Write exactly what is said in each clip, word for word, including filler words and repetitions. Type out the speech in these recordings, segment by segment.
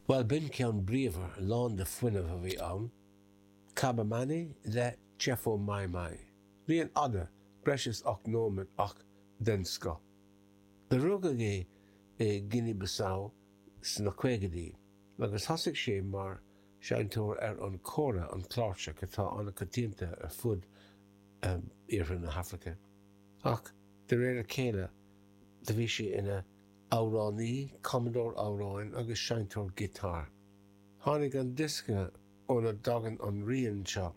Bhuel, b'in ceann bríomhar, lán de fuinneamh a bhí ann. Kaba Mani le Tchefo Mai Mai. Rian fhada, breis is ocht nóiméad ach den scoth. Do rugadh é i Guinea-Bissau sna caogaidí, agus thosaigh sé mar seinnteoir ar an kora, an cláirseach atá an-choitianta ar fud um, iarthar na hAfraice. Ach de réir a chéile do bhí sé ina amhránaí, cumadóir amhráin agus seinnteoir giotár. Tháinig an diosca óna dtagann an rian seo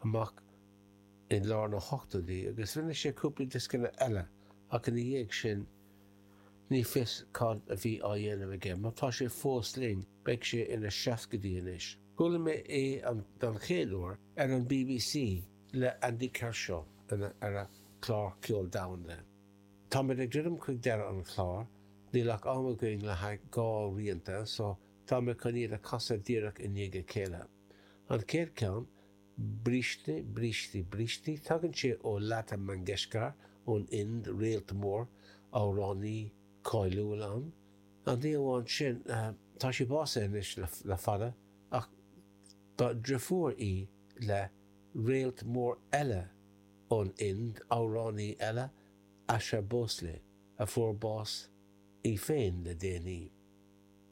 amach i lár na hochtóidí agus rinne sé cúpla dioscanna eile ach ina dhiaidh sin ní fios cad a bhí á dhéanamh aige, má tá sé fós linn beidh sé ina seascaidí anois. Chuala mé é an don chéad uair ar an BBC le Andy Kershaw ar a chlár ceol domhanda. Táimid ag druidim chuig deireadh an chláir, níl ach am againn le haghaidh dhá rianta, so tá mé chun iad a chasadh díreach i ndiaidh a chéile. An chéad ceann, Brishti, Brishti, Brishti, tagann sé ó Lata Mangeshkar ón Ind réalt mór amhránaí cáiliúil ann. An ní amháin sin tá sí básaithe anois le, le fada ach ba deirfiúr í le réalt mór eile ón Ind amhránaí eile Asha Bhosle a fuair bás í féin le déanaí.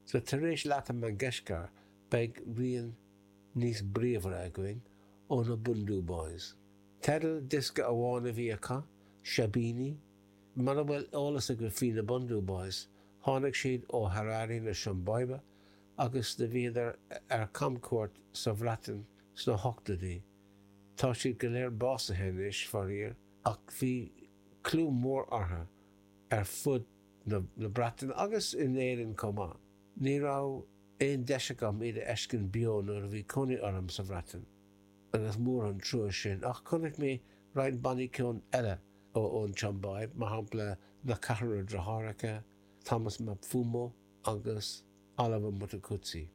So tar éis Lata Mangeshkar beidh rian níos bríomhaire againn ó na Bhundu Boys. Teideal diosca amháin a bhí acu, Shabini, Mura bhfuil eolas agaibh faoi na Bhundu Boys, tháinig siad ó Harare na Siombáibe agus do bhíodar ar camchuairt sa Bhreatain sna hochtóidí. Tá siad go léir básaithe anois faraor ach bhí clú mór orthu ar fud na, na Breataine agus in Éirinn chomh maith. Ní raibh aon deis agam iad a fheiscint beo nuair a bhí cónaí orm sa Bhreatain agus mór an trua sin ach chonaic mé roinnt bannaí ceoil eile ó ón tSiombáib, mar shampla na Ceathrar Deartháireacha, Thomas Mapfumo agus Oliver Mtukudzi.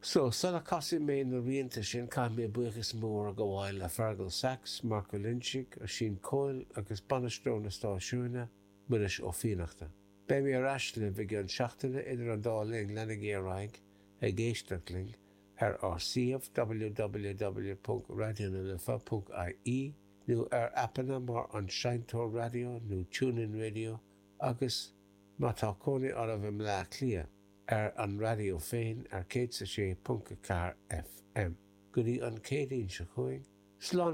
So, sula casfaidh mé na rianta sin caithfidh mé buíochas mór a ghabháil le Fergal Sachs, Marco Lynchig, Oisín Coyle agus bainisteoir na stáisiúine, Muiris Ó Fiannachta. Beidh mé ar ais libh i gceann seachtaine idir an dá linn leanaigí ar aghaidh ag éisteacht linn ar ár suíomh www.radionalife.ie nó ar aipeanna mar an Seinnteoir Raidió nó TuneIn Radio agus má tá cónaí oraibh i mBleá Cliath ar an raidió féin ar céad sé ponc ceathair FM. Go dtí an Chéadaoin seo chugainn, slán